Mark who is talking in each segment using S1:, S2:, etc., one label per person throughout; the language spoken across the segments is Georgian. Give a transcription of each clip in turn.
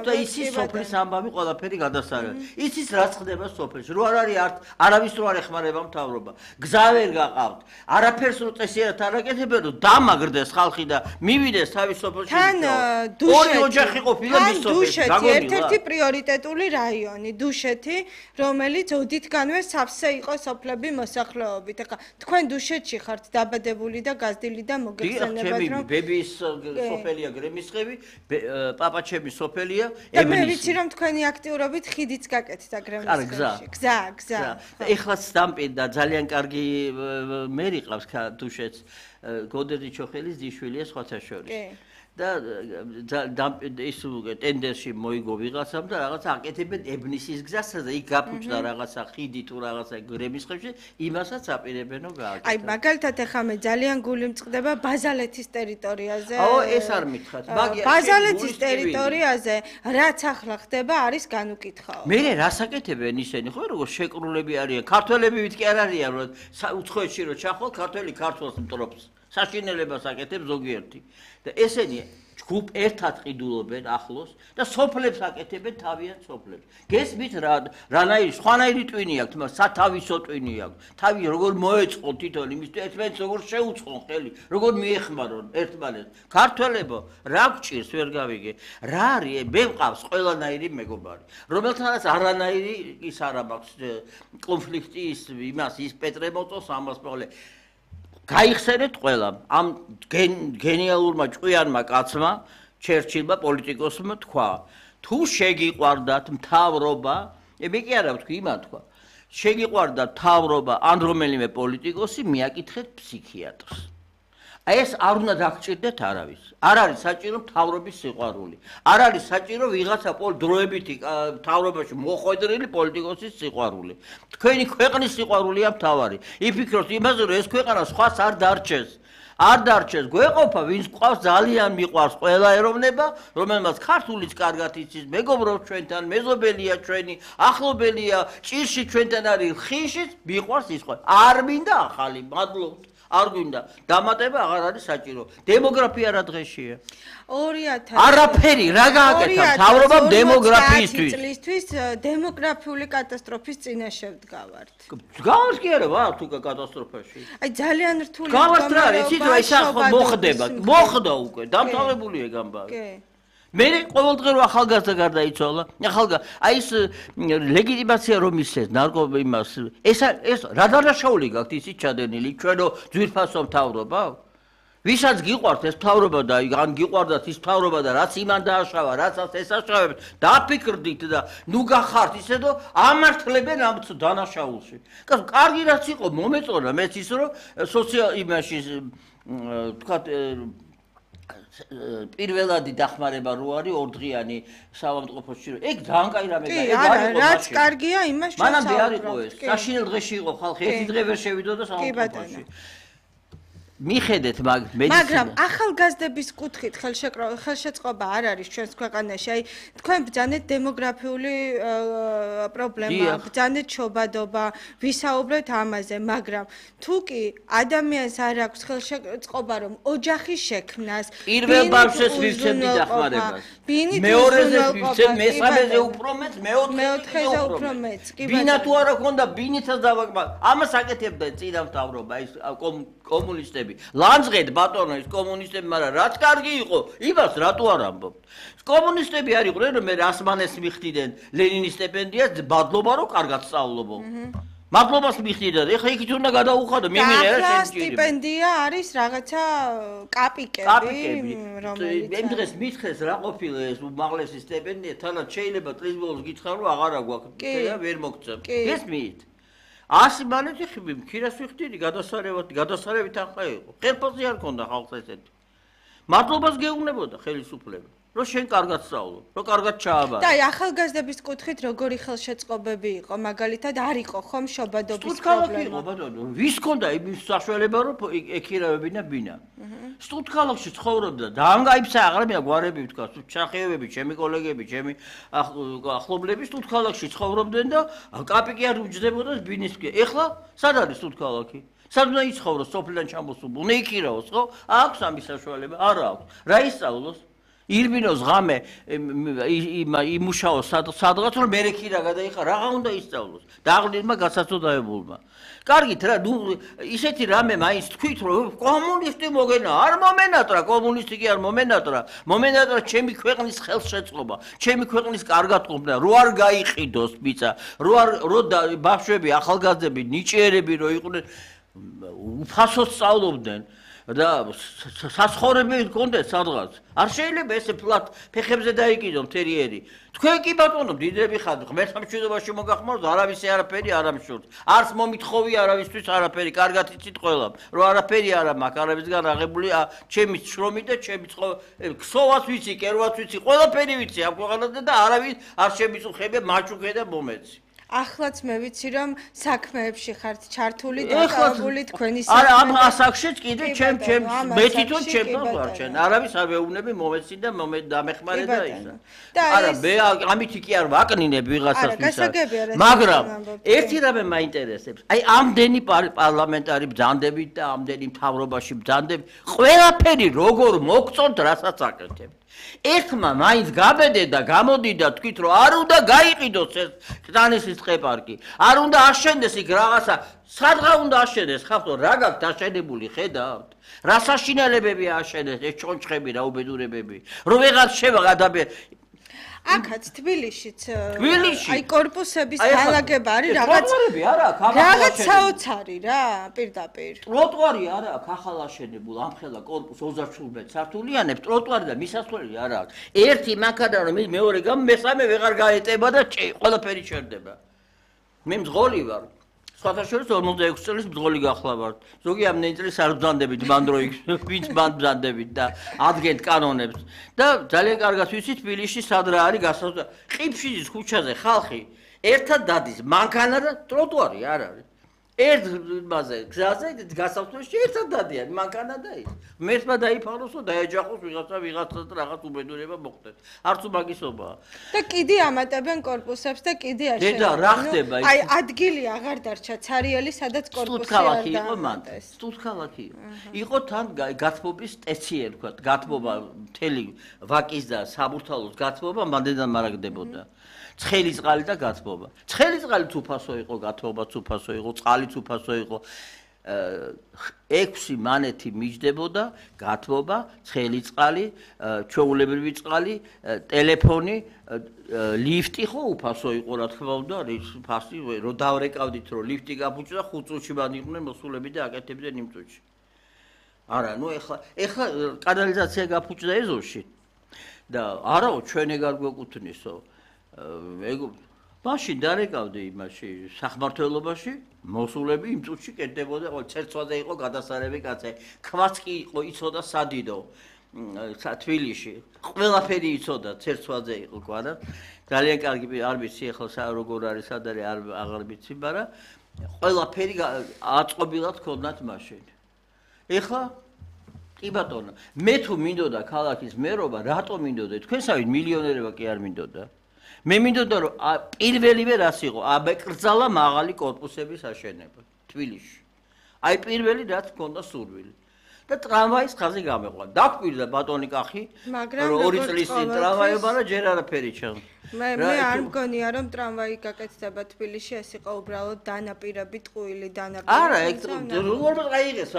S1: და იცის სოფლის ამბავი ყველაფერი გადასარევი. იცის რაც ხდება სოფელში. რო არ არის არავის რო არ ეხმარება მთავრობა. გზა ვერ გაყავთ. არაფერს რო წესიერად არ აკეთებენ, რომ დამაგრდეს ხალხი და მივიდეს თავის სოფელში.
S2: თან
S1: ორი ოჯახი ყოფილა მის სოფელში.
S2: ერთ-ერთი პრიორიტეტული რაიონი, დუშეთი, რომელიც ოდითგანვე სავსე იყო სოფლები მოსახლეობით. ახლა თქვენ დუშეთში ხართ დაბადებული და გაზრდილი და მოგეხსენებათ, რომ
S1: ბებიის სოფელია გრემისხევი, პაპაჩემის სოფელია.
S2: და მე ვიცი რომ თქვენი აქტიურობით ხიდიც გაკეთდა გრემისხევში. გზა.
S1: ეხლაც დამპირდა ძალიან კარგი მერი ყავს დუშეთს, გოდერძი ჩოხელის ძიშვილია სხვათა შორის. და ის ტენდერში მოიგო ვიღაცამ და რაღაც აკეთებენ ებნისის გზას და იქ გაფუჭდა რაღაცა ხიდი თუ რაღაცა გრემისხევში, იმასაც აპირებენო გააკეთა.
S2: აი მაგალითად ახლა მე ძალიან გული მწყდება ბაზალეთის ტერიტორიაზე.
S1: ეს არ მითხრათ.
S2: ბაზალეთის ტერიტორიაზე რაც ახლა ხდება არის განუკითხაო.
S1: მე რას აკეთებენ ისინი ხო როგორ შეკრულები არიან. ქართველები ვით კი არ არიან რომ უცხოეთში რო ჩახვალ ქართველი ქართველს მტრობს. საშინელებას აკეთებს ზოგიერთი და ესენი ჯგუფ ერთად ყიდულობენ ახლოს და სოფლებს აკეთებენ თავიანთ სოფლებს. გესმით რანაირი სხვანაირი ტვინი აქვს, მაგრამ სათავისო ტვინი აქვს. თავი როგორ მოეწყო თვითონ იმის ერთმანეთს როგორ შეუწყონ ხელი, როგორ მიეხმარონ ერთმანეთს. ქართველებო, რა გჭირს ვერ გავიგე. რა არის? მე მყავს ყველანაირი მეგობარი, რომელთანაც არანაირი ის არ მაქვს კონფლიქტი ის პეტრე მოწოს ამას მოყოლე. გაიხსენეთ ყველამ ამ გენიალურმა ჭკვიანმა კაცმა ჩერჩილმა პოლიტიკოსმა თქვა თუ შეგიყვარდათ მთავრობა მე კი არა ვთქვი იმან თქვა შეგიყვარდათ მთავრობა ან რომელიმე პოლიტიკოსი მიაკითხეთ ფსიქიატრს ეს არ უნდა დაგჭირდეთ არავის არ არის საჭირო მთავრობის სიყვარული არ არის საჭირო ვიღაცა დროებითი მთავრობაში მოხვედრილი პოლიტიკოსის სიყვარული თქვენი ქვეყნის სიყვარულია მთავარი იფიქროთ იმაზე რომ ეს ქვეყანა სხვას არ დარჩეს გვეყოფა ვინც ყავს ძალიან მიყვარს ყველა ეროვნება რომელმაც ქართულიც კარგად იცის მეგობრობს ჩვენთან მეზობელია ჩვენი ახლობელია ჭირში ჩვენთან არის ხიშიც მიყვარს ის ყველა არ მინდა ახალი მადლობთ არ გვინდა დამატება აღარ არის საჭირო დემოგრაფია რა დღეშია
S2: 2000
S1: არაფერი რა გააკეთა მთავრობამ დემოგრაფიისთვის
S2: წლისთვის დემოგრაფიული კატასტროფის წინაშე ვდგავართ
S1: გავართ კი არა ვარ თუ კატასტროფაში
S2: აი ძალიან რთული
S1: გავართ რა იცით რა ის ახლა მოხდა უკვე დამთავრებულია გამბარი კი მე ყოველდღე რო ახალგაზრდა გარდაიცვალა აი ეს ლეგიტიმაცია რომ ისეს ნარკო იმას ეს რა დანაშაული გაქვთ ისიც ჩადენილი ჩვენო ძვირფასო მთავრობა ვისაც გიყვართ ეს მთავრობა და ან გიყვარდათ ის მთავრობა და რაც იმან დააშავა რაცაც ესაშავებთ დაფიქრდით და ნუ გახართ ისე რომ ამართლებენ ამ დანაშაულში კარგი რაც იყო მომეწონა მეც ის რომ სოციალ იმაში თქვა პირველადი დახმარება რო არის ორდღიანი საავადმყოფოში ეგ ძალიან კაი რამე და ეგ არის
S2: რაც კარგია იმას ჩვენ
S1: მანამდე არ იყო ეს საშინელ დღეში იყო ხალხი ერთი დღე ვერ შევიდოდა საავადმყოფოში მიხედეთ
S2: მაგრამ ახალგაზრდების კუთხით ხელშეწყობა არ არის ჩვენს ქვეყანაში აი თქვენ ბრძანეთ დემოგრაფიული პრობლემა ბრძანეთ შობადობა ვისაუბრეთ ამაზე მაგრამ თუ კი ადამიანს არ აქვს ხელშეწყობა რომ ოჯახის შექმნას
S1: პირველ ბავშვს ვივცემდი დახმარებას მეორეზე ვივცემ მესამეზე უფრო მეც მეოთხეზე უფრო მეც ბინა თუ არა ქონდა ბინითაც დავაკმა ამას აკეთებდნენ წინა მთავრობა ის კომუნისტები ლანძღეთ ბატონო ის კომუნისტები მაგრამ რაც კარგი იყო იმას რატო არ ამბობთ კომუნისტები არ იყვნენ რომ მე რასმანეს მიხდიდნენ ლენინის სტიპენდიას მადლობა რომ კარგად სწავლობო მადლობას მიხდიდნენ ეხლა იქით უნდა გადაუხადო მიმიღე რა
S2: სტიპენდია არის რაღაცა კაპიკები
S1: რომელიც იმ დღეს მითხეს რა ყოფილა ეს უმაღლესი სტიპენდია თანაც შეიძლება წლის ბოლოს გითხრა რომ აღარა გვაქვს და ვერ მოგწევ გესმით 100 მანეთი ხირას ვიხდიდი გადასარევით ახლა იყო ხელფასი არ ქონდა ხალხს ესეთი მადლობას გეუბნებოდა ხელისუფლება რომ შენ კარგად სწავლობ რომ კარგად ჩააბარა
S2: და აი ახალგაზრდების კუთხით როგორი ხელშეწყობები იყო მაგალითად არ იყო ხომ შობადობის პრობლემა
S1: ვის ქონდა იმის საშუალება რომ ეკირავებინა ბინა სტუდქალოში ცხოვრობდა და ამ გაიფსა აღარ გვარები ვთქვა ჩახიევები ჩემი კოლეგები ჩემი ახლობლები სტუდქალში ცხოვრობდნენ და კაპიკი არ უჯდებოდა ბინისკი ეხლა სად არის სტუდქალში სად უნდა იცხოვროს სოფლიდან ჩამოსულ უნდა იკირავოს ხო აქვს ამის საშუალება არა აქვს რა ისწავლოს ირბინოს ღამე იმუშაოს სადღაც რომ მერექი რა გადაიხარ, რაღა უნდა ისწავლოს. დაღლილმა გასაცოდაებულმა. კარგით რა, ნუ ისეთი რამე მაინც თქვით რომ კომუნისტი მოგენა, არ მომენატრა, კომუნისტი კი არ მომენატრა. მომენატრა ჩემი ქვეყნის ხელშეწყობა, ჩემი ქვეყნის კარგად ყოფნა, რო არ გაიყიდოს ბიცა, რო ბავშვები, ახალგაზრდები, ნიჭიერები რო იყვნენ უფასოდ სწავლობდნენ. და საცხოვრებელი ჰქონდეს სადღაც. არ შეიძლება ესე ფლად ფეხებზე დაიკიდო მთერიერი. თქვენ კი ბატონო დიდები ხართ, ღმერთმა მშვიდობაში მოგახმაროთ, არავის არაფერი არ ამშურთ. არც მომითხოვი არავისთვის არაფერი, კარგად იცით ყველამ, რომ არაფერი არ მაქვს, არავისგან აღებული ჩემი შრომი და ჩემი ქსოვაც ვიცი, კერვაც ვიცი, ყველაფერი ვიცი ამ ქვეყანაზე და არავის არ შემიწუხებია მაჩუქე და მომეცი.
S2: ახლაც მე ვიცი რომ საქმეებში ხართ ჩართული და დაკავებული თქვენი
S1: არა ამ ასაკშიც კიდე ჩემ მე თვითონ ჩემთან ვარ ჩვენ არავის არ ვეუბნები მომეცი და დამეხმარე და ისა არა მე ამითი კი არ ვაკნინებ ვიღაცას მაგრამ ერთი რამე მაინტერესებს აი ამდენი პარლამენტარი ბრძანდებით და ამდენი მთავრობაში ბრძანდებით ყველაფერი როგორ მოგწონთ რასაც აკეთებთ ერთმა მაინც გაბედე და გამოდიდა თქვით რომ არ უნდა გაიყიდოს ეს კრანისის ტყეპარკი არ უნდა აშენდეს იქ რაღაცა სადღა უნდა აშენდეს ხახო რა გაქვთ აშენებული ხედავთ რა საშინელებები აშენდეს ეს ჩონჩხები რა უბედურებები რომ ვეღარ შევაღადაბე
S2: აქაც თბილისშიც აი კორპუსების განლაგება არის რაღაც საოცარი რა პირდაპირ
S1: ტროტუარი არ აქვს ახალ აშენებულ ამხელა კორპუს 35 სართულიანებს ტროტუარი და მისასვლელი არ აქვს ერთი მანქანა რომ მეორე გამ მესამე ვეღარ გაეტება და ყველაფერი ჩერდება მე მძღოლი ვარ სხვათა შორის 46 წლის მძღოლი გახლა ვარ ზოგი ამდენი წლის არ ბრძანდებით მანდროიქ ვინც ბრძანდებით და ადგენთ კანონებს და ძალიან კარგად ვიცით თბილისში სად რა არის გასავსება ყიფშიძის ქუჩაზე ხალხი ერთად დადის მანქანა და ტროტუარი არ არის ერთ მასე გზაზე გასავსებაში ერთად დადიან მანქანა და ის მერტმა დაიფაროსო დაეჯახოს ვიღაცა და რაღაც უბედურება მოხდეს არც უმაგისობაა
S2: და კიდე ამატებენ კორპუსებს და კიდე აშენებენ
S1: დედა რა ხდება
S2: აი ადგილი აღარ დარჩა ცარიელი სადაც კორპუსი არ
S1: დაამატეს სტუდქალაქი იყო თან გათბობის სტეცია თქვა გათბობა მთელი ვაკის და საბურთალოს გათბობა მანდედან მარაგდებოდა ცხელი წყალი და გათბობა. ცხელი წყალიც უფასო იყო, გათბობაც უფასო იყო, წყალიც უფასო იყო. 6 მანეთი მიჯდებოდა, გათბობა, ცხელი წყალი, ჩვეულებრივი წყალი, ტელეფონი, ლიფტი ხო უფასო იყო, რა თქმა უნდა, ფასი რო დავრეკავდით, რომ ლიფტი გაფუჭდა 5 წუთში მანდიყვნენ მოსულები და აკეთებდნენ იმ წუთში. არა, ნუ ეხლა კანალიზაცია გაფუჭდა ეზოში და არაო ჩვენ ეგარ გვეკუთვნისო. მაშინ დარეკავდი იმაში სახმართველობაში მოსულები იმ წუთში კეთდებოდა ყოველ ცერცვაზე იყო გადასარევი კაცი ქვაც კი იყო იცოდა სადიდო თბილისში ყველაფერი იცოდა ცერცვაზე იყო კვარა ძალიან კარგი არ ვიცი ახლა როგორ არის სად არის აღარ ვიცი მაგრამ ყველაფერი აწყობილად ქონდათ მაშინ ეხლა კი ბატონო მე თუ მინდოდა ქალაქის მერობა რატომ მინდოდა თქვენსავით მილიონერება კი არ მინდოდა მე მინდოდა რომ პირველივე რას იყო აბეკრძალა მაღალი კორპუსების აშენება თბილისში აი პირველი რაც მქონდა სურვილი და ტრამვაის ხაზი გამეყვა დაგვირდა ბატონი კახი რომ 2 წლის წინ ტრამვაიობა და ჯერ არაფერი ჩანს
S2: მე არ მგონია რომ ტრამვაი გაკეთდება თბილისში ეს იყო უბრალოდ დანაპირები ტყუილი დანაპირები
S1: არა ეგ როგორ გაიღეს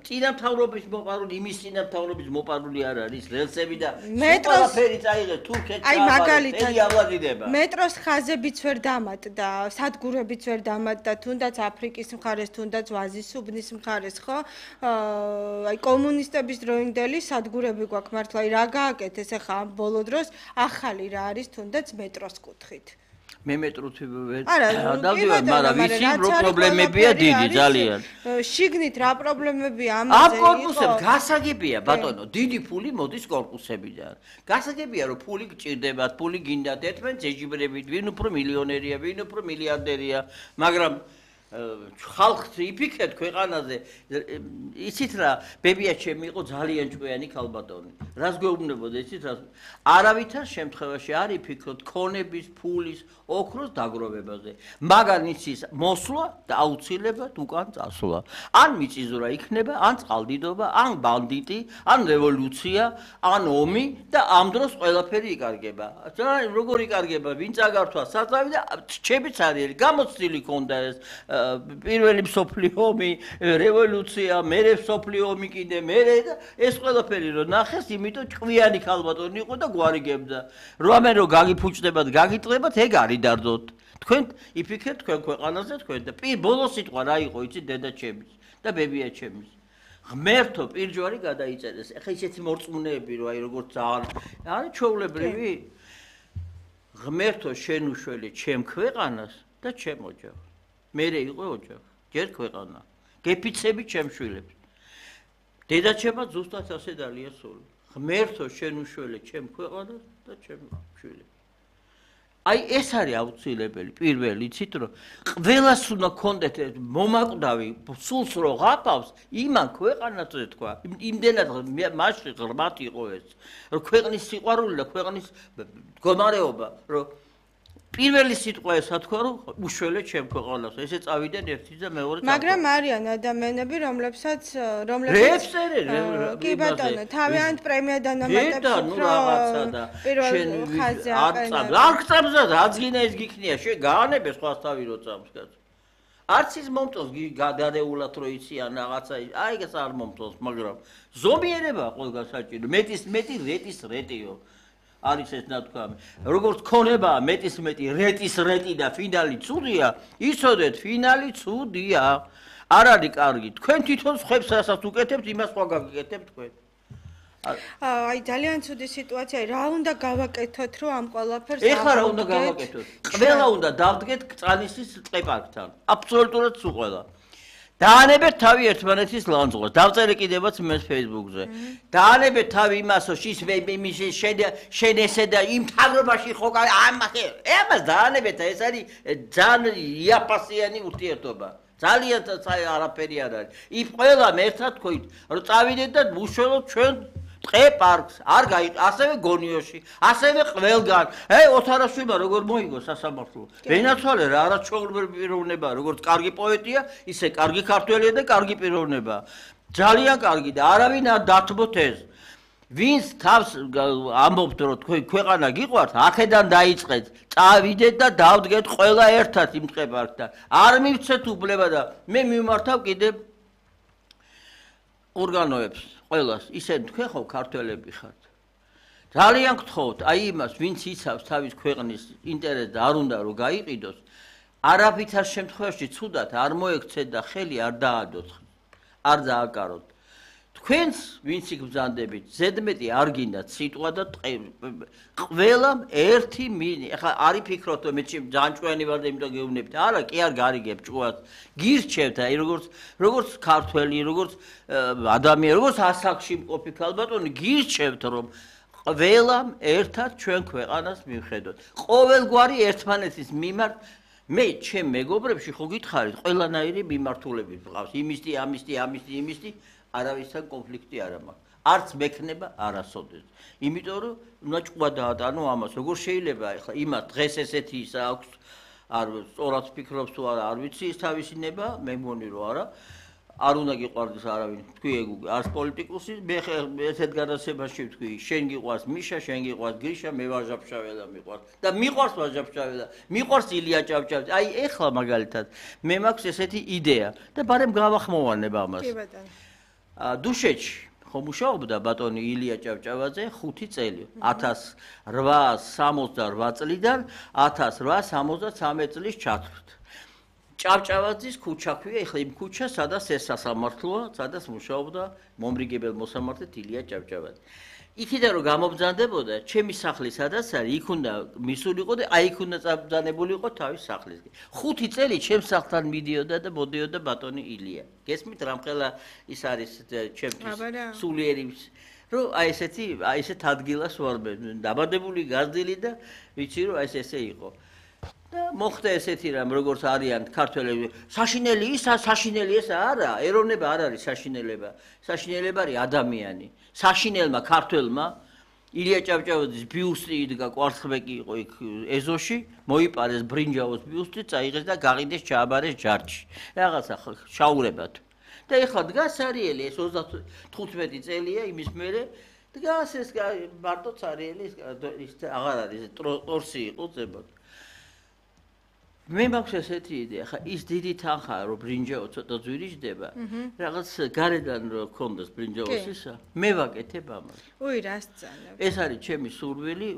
S1: წინა მთავრობის მოყარული იმის წინა მთავრობის მოყარული არ არის რელსები და ყველაფერი წაიღეს თურქეთში
S2: აი მაგალითად მეტროს ხაზებიც ვერ დამატდა სადგურებიც ვერ დამატდა თუნდაც აფრიკის მხარეს თუნდაც ვაზის უბნის მხარეს ხო აი კომუნისტების დროინდელი სადგურები გვაქვს მართლა აი რა გააკეთეს ახლა ამ ბოლო დროს ახალი რა არის თუნდაც მეტროს კუთხით
S1: მე მეტროთი დავდივარ მაგრამ ვიცი რო პრობლემებია დიდი ძალიან
S2: შიგნით რა პრობლემებია
S1: ამაზე ამ კორპუსებს გასაგებია ბატონო დიდი ფული მოდის კორპუსებიდან გასაგებია რომ ფული გჭირდებათ ფული გინდათ ერთმანეთს ეჯიბრებით ვინ უფრო მილიონერია ვინ უფრო მილიარდერია მაგრამ ხალხს იფიქრეთ ქვეყანაზე იცით რა ბებიაჩემი იყო ძალიან ჭკვიანი ქალბატონი რას გვეუბნებოდა იცით რა არავითარ შემთხვევაში არ იფიქროთ ქონების ფულის ოქროს დაგროვებაზე მაგან იცის მოსვლა და აუცილებლად უკან წასვლა ან მიწისძვრა იქნება ან წყალდიდობა ან ბანდიტი ან რევოლუცია ან ომი და ამ დროს ყველაფერი იკარგება როგორ იკარგება ვინ წაგართვა საწავი და ჩებიც არის გამოცდილი ქონდა ეს პირველი მსოფლიო ომი, რევოლუცია, მერე მსოფლიო ომი კიდე მერე და ეს ყველაფერი რომ ნახეს, იმიტომ ჭკვიანი ქალბატონი იყო და გვარიგებდა. რომ გაგიფუჭდებათ, გაგიტყდებათ, ეგ არის დარდოთ. თქვენ იფიქრეთ თქვენ ქვეყანაზე თქვენ და ბოლოს სიტყვა რა იყო, იცი დედაჩემის და ბებიაჩემის. ღმერთო პირჯვარი გადაიწერეს. ეხლა ისეთი მორწმუნეები რომ აი როგორც ძალიან არის ჩვეულებრივი ღმერთო შენ უშველი ჩემ ქვეყანას და ჩემ ოჯახს. მერე იყო ოჯახი, ჯერ ქვეყანა. გეფიცები ჩემ შვილებს. დედაჩემა ზუსტად ასე დალიასული. ღმერთო შენ უშველე ჩემ ქვეყანას და ჩემ შვილებს. აი ეს არის აუცილებელი პირველი იცით რომ ყველას უნდა კონდეთ მომაკვდავი სულს რო ღაფავს იმან ქვეყანაზე თქვა იმდენად მასში ღრმად იყო ეს რომ ქვეყნის სიყვარული და ქვეყნის მდგომარეობა რომ პირველი სიტყვა ესა თქვა რომ უშველე ჩემ ქვეყანას ესე წავიდნენ ერთი და მეორე
S2: მაგრამ არიან ადამიანები რომლებსაც კი ბატონო თავიანთ პრემია დანამატებს პირველ ხაზზე
S1: არ გწამსა აძგინა ეს გიქნია შე გაანებე სხვას თავი რო წამს კაცო არც ის მომწონს გადარეულად რო იციან რაღაცა აი ეს არ მომწონს მაგრამ ზომიერება ყველგან საჭირო მეტი რეტის რეტიო არის ეს ნათქვამი. როგორც ქონებაა მეტის მეტი რეტის რეტი და ფინალი ცუდია, იცოდეთ ფინალი ცუდია. არ არის კარგი. თქვენ თვითონ ხებს რასაც უკეთებთ, იმას სხვა გაგიკეთებთ თქვენ.
S2: აი ძალიან ცუდი სიტუაცია. რა უნდა გავაკეთოთ, რომ ამ ყველაფერს
S1: ეხლა რა უნდა გავაკეთოთ? ყველა უნდა დავდგეთ წალისის ტყეპარკთან. აბსოლუტურად სულ ყველა. დაანებეთ თავი ერთმანეთის ლანძღოს. დავწერე კიდევაც მე Facebook-ზე. დაანებეთ თავი იმას, შენ ესე და იმ თავრობაში ხო ამას დაანებეთ, ეს არის ძალიან იაფასიანი ურთიერთობა. ძალიან არაფერი არ არის. იმ ყველამ ერთად თქვით, რომ წავიდეთ და უშველოთ ჩვენ ტყეპარკს, არ გაიყ, ასევე გონიოში, ასევე ყველგან. ოთარაშვილმა როგორ მოიგო სასამართლო. ვენაცვალე რა არაჩვეულებრივი პიროვნება, როგორც კარგი პოეტია, ისე კარგი ქართველია და კარგი პიროვნება. ძალიან კარგი და არავინ არ დათმოთ ეს. ვინც თავს ამბობთ, რომ თქვენ ქვეყანა გიყვართ, აქედან დაიწყეთ, წავიდეთ და დავდგეთ ყველა ერთად იმ ტყეპარკთან. არ მივცეთ უფლება და მე მიმართავ კიდევ ორგანოებს ყველას ისე თქვენ ხო ქართველები ხართ ძალიან გთხოვთ აი იმას ვინც იცავს თავის ქვეყნის ინტერესს და არ უნდა რომ გაიყიდოს არაფრითარ შემთხვევაში ცუდად არ მოექცეთ და ხელი არ დაადოთ არ დააკაროთ თქვენს ვინც იგბრძანდებით ზედმეტი არ გინდათ სიტყვა და ყველამ ერთი მინი ახლა არი ფიქრობთ რომ მე ძალიან ჭკვიანი ვარ და იმიტომ გეუბნებით არა კი არ გარიგებ ჭკვას გირჩევთ აი როგორც ქართველი როგორც ადამიანი როგორც ასაკში მყოფი ქალბატონი გირჩევთ რომ ყველამ ერთად ჩვენ ქვეყანას მივხედოთ ყოველგვარი ერთმანეთის მიმართ მე ჩემ მეგობრებში ხო გითხარით ყველანაირი მიმართულებით მყავს იმისთი არავისთან კონფლიქტი არ მაქვს. არც მექნება არასოდეს. იმიტომ რომ უნდა ჭკვა დაატანო ამას. როგორ შეიძლება ახლა იმას დღეს ესეთი ისა აქვს არ სწორად ფიქრობს თუ არა არ ვიცი ის თავისინება მე მგონი რომ არა. არ უნდა გიყვარდეს არავინ. თქვი ეგ არც პოლიტიკოსი მე ესეთ გადაცემაში ვთქვი შენ გიყვარს მიშა, შენ გიყვარს გრიშა, მე ვაჟაფშაველა მიყვარს და მიყვარს ვაჟაფშაველა, მიყვარს ილია ჭავჭავაძე. აი ეხლა მაგალითად მე მაქვს ესეთი იდეა და ბარემ გავახმოვანებ ამას.
S2: კი ბატონო.
S1: დუშეთში ხო მუშაობდა ბატონი ილია ჭავჭავაძე 5 წელი 1868 წლიდან 1873 წლის ჩათვლით. ჭავჭავაძის ქუჩა ქვია, ეხლა იმ ქუჩას სადაც ეს სასამართლოა, სადაც მუშაობდა მომრიგებელ მოსამართლედ ილია ჭავჭავაძე. იქიდან რომ გამობრძანდებოდა, ჩემი სახლი სადაც არის, იქ უნდა მისულიყო და აი იქ უნდა წაბრძანებულიყო თავის სახლისკენ. 5 წელი ჩემს სახლთან მიდიოდა და მოდიოდა ბატონი ილია. გესმით რამხელა ის არის ჩემთვის სულიერი რომ აი ესეთ ადგილას ვარ მე. დაბადებული გაზრდილი და ვიცი რომ აი ესე იყო. და მოხდა ესეთი რამ, როგორც არიან ქართველები. საშინელი ისა, საშინელი ესა არა, ეროვნება არ არის საშინელება. საშინელება არის ადამიანი. საშინელმა ქართველმა ილია ჭავჭავაძის ბიუსტი იდგა კვარცხლბეკი იყო იქ ეზოში, მოიპარეს ბრინჯაოს ბიუსტი, წაიღეს და გაყიდეს ჩააბარეს ჯარჯი. რაღაცა შაურებად. და ეხლა დგას სარიელი ეს 35 წელია იმის მერე დგას ეს მარტო სარიელი ის აღარ არის ტორსი იყო ზებად. მე მაქვს ესეთი იდეა, ხა ის დიდი თანხაა რომ ბრინჯაო ცოტა ძვირიჯდება, რაღაც გარედან რომ ქონდეს ბრინჯაოს ისა, მე ვაკეთებ ამას.
S2: უი, რას წანებ?
S1: ეს არის ჩემი სურვილი.